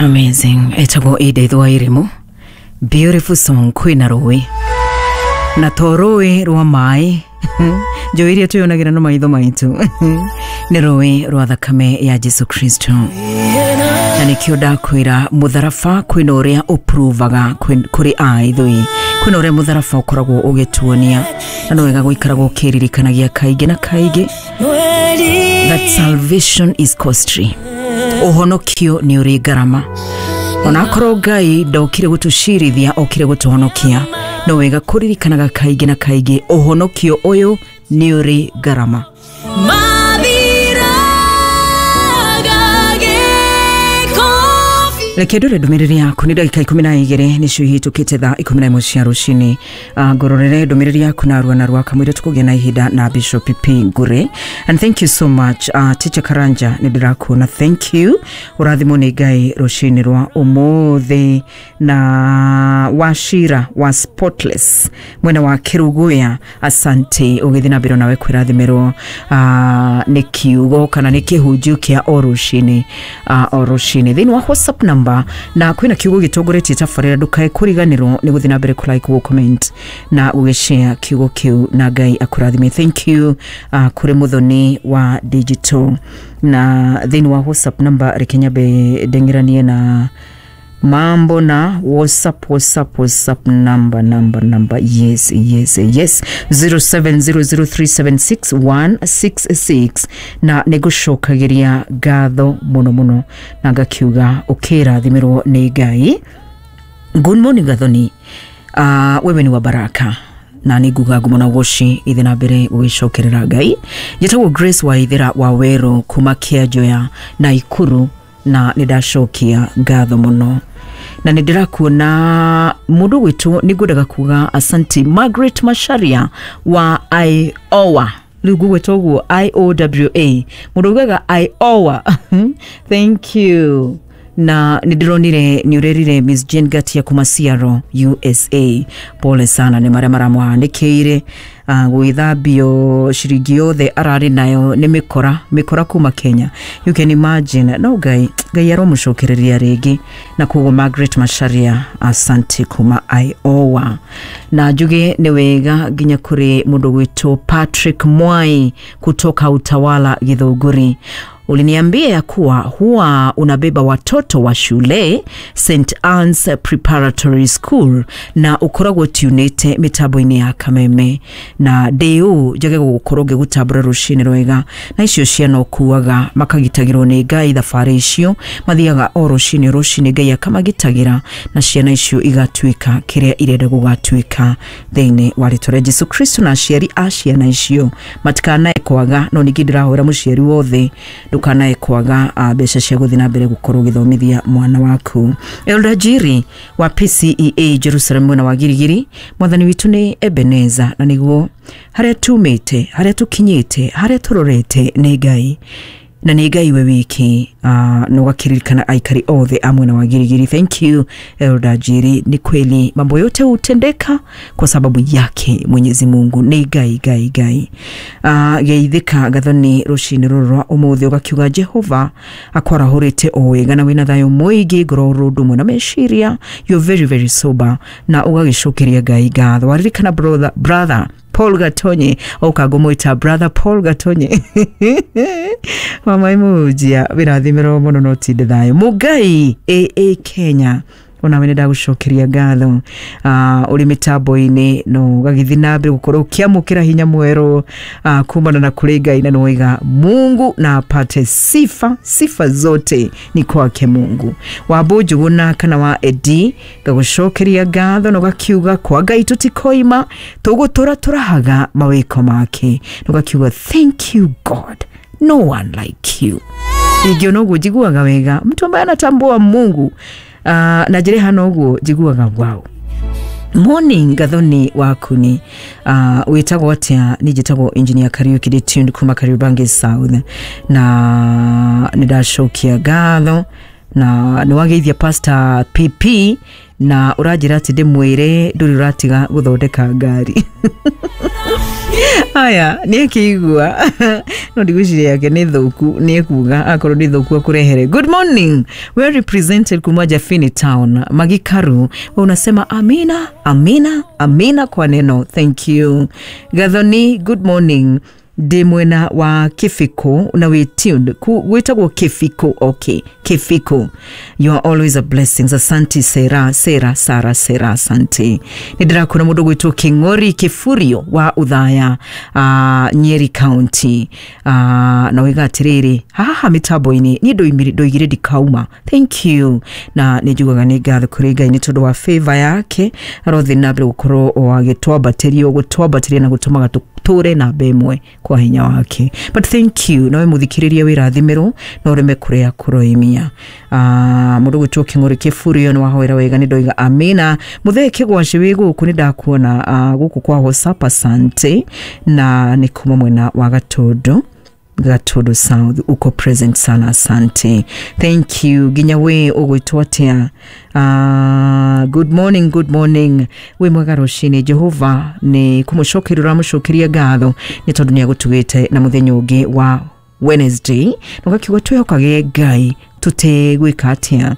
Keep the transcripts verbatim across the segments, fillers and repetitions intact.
Amazing. Etagwo Edith Wairimu. Beautiful song kwina rũĩ. Na to rũĩ rwa maĩ. Njũĩ iria twĩyonagĩra na maitho maitũ. Nĩ rũĩ rwa thakame ya Jesu Kristo. Na nĩkĩo ndakwĩra mũtharaba kwĩna ũrĩa ũprovaga kũrĩ a ithuĩ. Kwĩna ũrĩa mũtharaba ũkoragwo ũgĩtuonia. Na nĩ wega gũikaragwo ũkĩririkanagia kaingĩ na kaingĩ that salvation is costly. Ũhonokio nĩ ũrĩ ngarama. Onakorwo Ngai ndokire gũtũcirithia, okire gũtũhonokia. No wega kũririkanaga kaingĩ na kaingĩ ũhonokio ũyũ nĩ ũrĩ ngarama. Reke ndore ndũmĩrĩri yaku nĩ ndagĩka ikũmi na igĩrĩ nĩcio ihĩtũkĩte thaa ikũmi na ĩmwe cia rũcinĩ. Ngũrorere ndũmĩrĩri yaku na arua narua kamũira tũkũgĩa na ihinda na Bishop P Ngure. And thank you so much, uh, Teacher Karanja, nĩ ndĩrakuona, thank you. Ũrathimwo nĩ Ngai rũcinĩ rwa ũmũthĩ. Na Wachira wa Spotless mwena wa Kĩrũgũya, asante ũgĩthiĩ na mbere nawe kwĩrathimĩrwo uh, nĩ kiugo kana nĩ kĩhunjio kĩa o rũcinĩ, uh, o rũcinĩ thĩinĩ wa WhatsApp number. Na kwina kiugo gitongoretie tabarĩra ndukae kuriganirwo nĩ gũthiĩ na mbere ku like, gũ comment na gũgĩshare kiugo kĩu, na Ngai akũrathime. Thank you uh, kũrĩ Muthoni wa digital. Na thĩinĩ wa WhatsApp number reke nyambe ndeng'eranie na mambo na WhatsApp, WhatsApp, WhatsApp number, number, number. Yes, yes, yes. zero seven zero zero three seven six one six six. Na nĩngũcokagiria ngatho mũno mũno na ngakiuga ũkĩrathimĩrwo nĩ Ngai. Good morning Gathoni. Uh, wewe ni wa baraka. Na nĩ nguga ngumo na ũgoci ithe na mbere gũgĩcokerera Ngai. Njĩtagwo Grace wa Ithera wa Werũ kuma Kĩanjoya na Ikuru, na nĩ ndacokia ngatho mũno. Na nĩ ndĩrakuona mũndũ gwĩtwo, nĩ ngwendaga kuga asante Margaret Macharia wa Iowa. Rĩu ngũgwĩta ũguo I O W A, mũndũ ugaga Iowa. Thank you. Na nĩ ndĩronire nĩ ũrerire Miss Jane Gatia kuma Seattle, U S A. Pole sana nĩ marĩa maramũhanĩkĩire. Uh, gwĩthambio ciringi yothe ararĩ nayo nĩ mĩkora, mĩkora kuma Kenya. You can imagine. No Ngai, Ngai aromũcokereria rĩngĩ. Na koguo Margaret Macharia, asante kuma Iowa. Na njuge nĩ wega nginya kũrĩ mũndũ gwĩtwo Patrick Mwai kutoka Utawala Githũngũri. Uliniambia ya kuwa huwa unabeba watoto wa shule Saint Anne's Preparatory School na ukoragwo tunete mitambo-inĩ ya Kameme. Na ndĩũ njage gũkorwo ngĩgũtambũra rũcinĩ rwega. Na icio ciana ũkuaga makagitagĩrwo nĩ Ngai thabarĩ icio mathiaga o rũcinĩ rũcinĩ, Ngai akamagitagĩra na ciana icio igatuĩka kĩrĩa irenda gũgatuĩka thĩinĩ wa rĩtwa rĩa Jesu Kristo. Na aciari a ciana icio matikanae kwaga, no ningĩ ndĩrahoera mũciari wothe ndukanae kwaga mbeca cia gũthiĩ na mbere gũkorwo ũgĩthomithia mwana waku. Elder Jiri wa P C E A Jerusalem mwena wa Girigiri, mwathani witũ nĩ Ebeneza, na nĩguo harĩa tumĩte, harĩa tũkinyĩte, harĩa tũrorete nĩ Ngai, na nĩ Ngai we wiki. uh, na ũgakĩririkana aikari othe a mwena wa Girigiri. Thank you Elder Jiri, ni kweli mambo yote hutendeka kwa sababu yake Mwenyezi Mungu. Nĩ Ngai, Ngai, Ngai. uh, geithĩka Gathoni rũcinĩ rũrũ rwa ũmũthĩ, ũgakiuga Jehova akwarahũrĩte o wega na wĩna thayũ mũingĩ, ngoro ũndũ ũmwe na meciria. You're very very sober, na ũgagĩcokeria Ngai ngatho. Waririkana brother, brother Paul Gatonye, ũkangũmwĩta brother Paul Gatonye. Mama imujia wĩrathimĩrwo mũno no tinde thayũ. Mũngai A A Kenya, onawe nĩ ndagũcokeria ngatho. uh, ũrĩ mĩtambo-inĩ no ũgagĩthiĩ na mbere gũkorwo ũkĩamũkĩra hinya mwerũ uh, kumana na kũrĩ Ngai, na nĩwaiga Mungu na apate sifa, sifa zote ni kwake Mungu. Wambu Njũgũna kana wa Edi, ngagũcokeria ngatho na ũgakiuga kwa Ngai tũtikoima, tũgũtũra tũrahaga mawĩko make, na ũgakiuga thank you God, no one like you. Ingĩona ũguo njiguaga wega, mtu ambaye anatambua Mungu. Uh, na njĩra hana ũguo njiguaga wow. Morning Gathoni wakuni, uh, wĩtagwo atĩa? Niĩ njĩtagwo Engineer Kariuki, ndĩ tuned kuma Kariobangi South, na nĩ ndacokia ngatho na nĩ wageithia Pastor P P, na ũranjĩra atĩ ndĩmwĩre ndũrĩ ũratiga gũthondeka ngari. Aya nĩ akĩigua no ndigwĩciria yake nĩ thũku, nĩ ekuga akorwo nĩ thũku akũrehere. Good morning, well represented kuma Jafini Town Magikaru. We unasema amina amina amina kwa neno, thank you. Gathoni, good morning, ndĩ mwena wa Kĩbiko na wĩ tuned. Gwĩtagwo Kĩbiko, okay, Kĩbiko. You are always a blessing, asante. Sera Sera Sara Sera, asante. Nĩ ndĩrakuona mũndũ gwĩtwo Kĩng'ori Kĩburio wa Uthaya, uh, Nyeri County, uh, na wĩga atĩrĩrĩ, haha mĩtambo-inĩ niĩ ndoigire ndikauma, thank you. Na nĩ njugaga nĩ ngatho kũrĩ Ngai nĩ tondũ wa favor yake, arothiĩ na mbere gũkorwo o agĩtwambatĩria gũtwambatĩria na gũtũmaga tũtũre namba ĩmwe kwa hinya wake. But thank you, nawe mũthikĩrĩria wĩrathimĩrwo na ũreme kũrĩa kũroimia. uh, mũndũ gwĩtwo Kĩng'ũri Kĩburio nĩ wahoera wega, nĩ ndoiga amina. Mũthee Kĩgwaci wĩ gũkũ, nĩ ndakuona uh, gũkũ kwa WhatsApp, asante. Na nĩ kuma mwena wa Gatũndũ, Gatũndũ South, uko present sana, asante, thank you. Nginya we ũgwĩtwo atĩa? Uh, good morning, good morning, wĩ mwega rũcinĩ. Jehova nĩ kũmũcokeria ũramũcokeria ngatho nĩ tondũ nĩ agũtugĩte na mũthenya ũngĩ wa Wednesday, na ũgakiuga twĩhokage Ngai tũtegwĩka atĩa,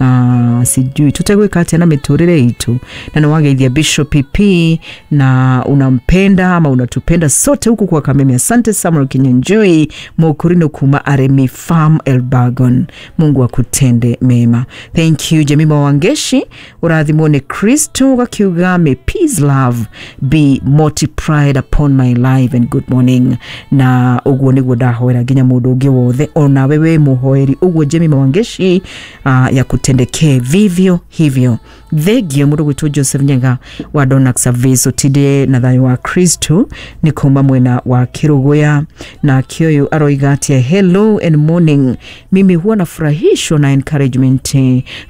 Uh, sijui tutegwĩka atĩa na mĩtũrĩre itũ. Na nĩ wageithia Bishop P na unampenda ama unatupenda sote huku kwa Kameme. Asante Samuel Kinyanjui Mokurino kuma Aremi Farm Elbagon, Mungu akutende mema, thank you. Jemima Wangeshi, ũrathimwo nĩ Kristo, gakiuga may peace love be multiplied upon my life and good morning. Na ũguo nĩguo ndahoera nginya mũndũ ũngĩ wothe onawe wĩ mũhoeri ũguo, Jemima Wangeshi, uh, ya kutendekee vivyo hivyo. Thengio mũndũ gwĩtwo Joseph Nyaga wa Donax Service, ũtinde na thayũ wa Kristo, nĩ kuma mwena wa Kĩrũgũya. Na kĩoyũ aroiga atia, hello and morning, mimi huwa nafurahishwa na encouragement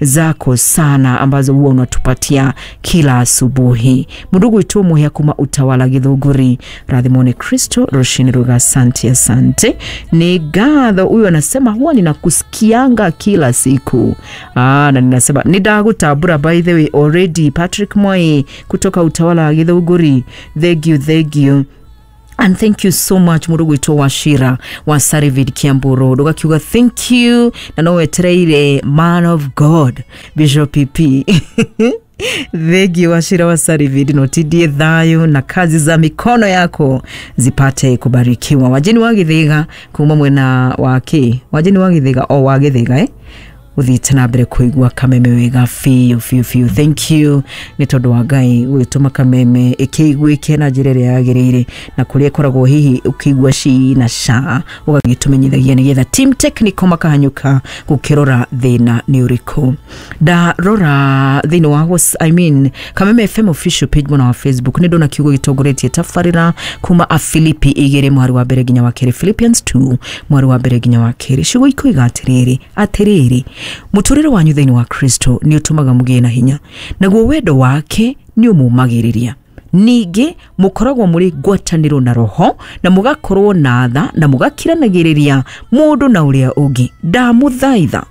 zako sana ambazo huwa unatupatia kila asubuhi. Mũndũ gwĩtwo Mũhĩa kuma Utawala Githũngũri, rathimwo nĩ Kristo rũcinĩ rwega, asante asante. Nĩ ngatho. Huyu anasema huwa ninakusikianga kila siku. Ah, na ninasema nindagutambura by the way already. Patrick Moi kutoka Utawala wa Githũngũri, thank you, thank you. And thank you so much mũndũ gwĩtwo Wachira wa Sarivid Kiambu Road, ũgakiuga thank you, na no wetereire man of God Bishop P. Thank you Wachira wa Sarivid, notidie thayo na kazi za mikono yako zipate kubarikiwa. Wajeni wa Githiga kuma mwena wa kĩ, wajeni wa Githiga o wa Githiga, eh ũthiĩte na mbere kũigua Kameme wega biũ biũ biũ, thank you nĩ tondũ wa Ngai gũgĩtũma Kameme ĩkĩiguĩke na njĩra ĩrĩa yagĩrĩire, na kũrĩa ĩkoragwo hihi ũkĩigua ci na ca ũgagĩtũmenyithagia nĩgetha team technical makahanyũka gũkĩrora thĩna nĩ ũrĩkũ. Ndarora thĩinĩ wa Whats- I mean Kameme F M official page mwena wa Facebook, nĩ ndona kiugo gĩtongoretie tabarĩra kuma Afilipi igĩrĩ mwari wa mbere nginya wa kerĩ, Philippians two mwari wa mbere nginya wa kerĩ. Ciugo ikoiga atĩrĩrĩ, atĩrĩrĩ, mũtũrĩre wanyu thĩinĩ wa Kristo nĩ ũtũmaga mũgĩe na hinya, naguo wendo wake nĩ ũmũmagĩrĩria. Ningĩ mũkoragwo mũrĩ ngwatanĩro na roho, na mũgakorwo na tha, na mũgakiranagĩrĩria mũndũ na ũrĩa ũngĩ. Ndamũthaitha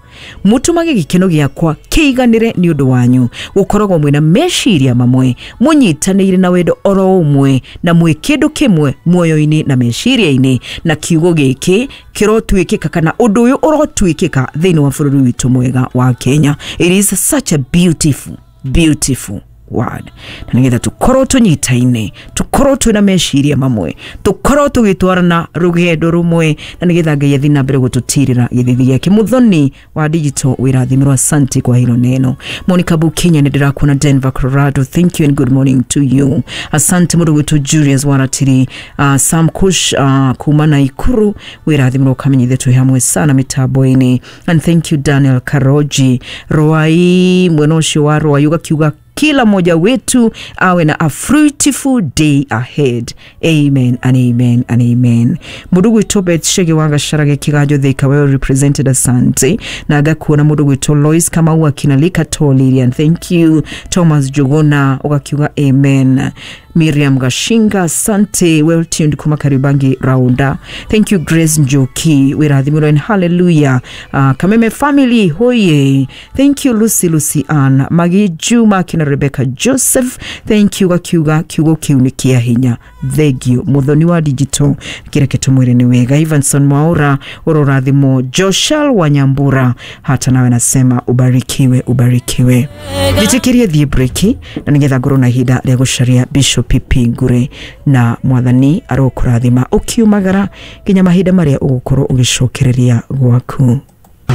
mũtũmage gĩkeno gĩakwa kĩiganĩre nĩ ũndũ wanyu, gũkoragwo mwĩna meciria mamwe, mũnyitanĩire na wendo oro ũmwe, na mwĩ kĩndũ kĩmwe muoyo-inĩ na meciria-inĩ. Na kiugo gĩkĩ kĩrotuĩkĩka kana ũndũ ũyũ ũrotuĩkĩka thĩinĩ wa bũrũri witũ mwega wa Kenya. It is such a beautiful beautiful word, na nĩgetha tũkorwo tũnyitaine, tũkorwo twĩna meciria mamwe, tũkorwo tũgĩtwarana rũgendo rũmwe, na nĩgetha Ngai athiĩ na mbere gũtũtirĩra gĩthithi gĩake. Mũthoni wa digital wĩrathimĩrwo, asante kwa hilo neno. Monica Bukenya nĩ ndĩrakuona Denver Colorado, thank you and good morning to you, asante. Mũndũ gwĩtwo Julius Waratiri, uh, Sam Kush uh, kuma Naikuru, wĩrathimĩrwo kamenyithie twĩ hamwe sana mĩtambo-inĩ. And thank you Daniel Karoji Rwai, mwena ũcio wa Rwai, ũgakiuga kila mmoja wetu awe na a fruitful day ahead, amen and amen and amen. Mũndũ gwĩtwo Beth Shege wa Gacharage Kiganjo Thika, well represented, asante. Na ngakuona mũndũ gwĩtwo Lois Kamau akinalika Tolirian, thank you. Thomas Jogona ũgakiuga amen. Miriam Gashinga, asante, well tuned kuma Karibangi Raunda. Thank you Grace Njoki, wĩrathimĩrwo and hallelujah. uh, Kameme family hoye, thank you Lucy Lucy Ann Magi Juma kina Rebecca Joseph, thank you. Gakiuga kiugo kiu nĩ kĩa hinya, thengio muthoni wa digital kĩreke tũmwĩre nĩ wega. Ivanson Mwaura, ũrorathimwo. Joshal Wanyambura, hata nawe nasema ubarikiwe, ubarikiwe. Njĩtĩkĩrie thiĩ breki na nĩgetha ngorwo na ihinda rĩa gũcaria Bishop P Ngure, na mwathani arokũrathima ũkiumagara nginya mahinda marĩa ũgũkorwo ũgĩcokereria gwaku.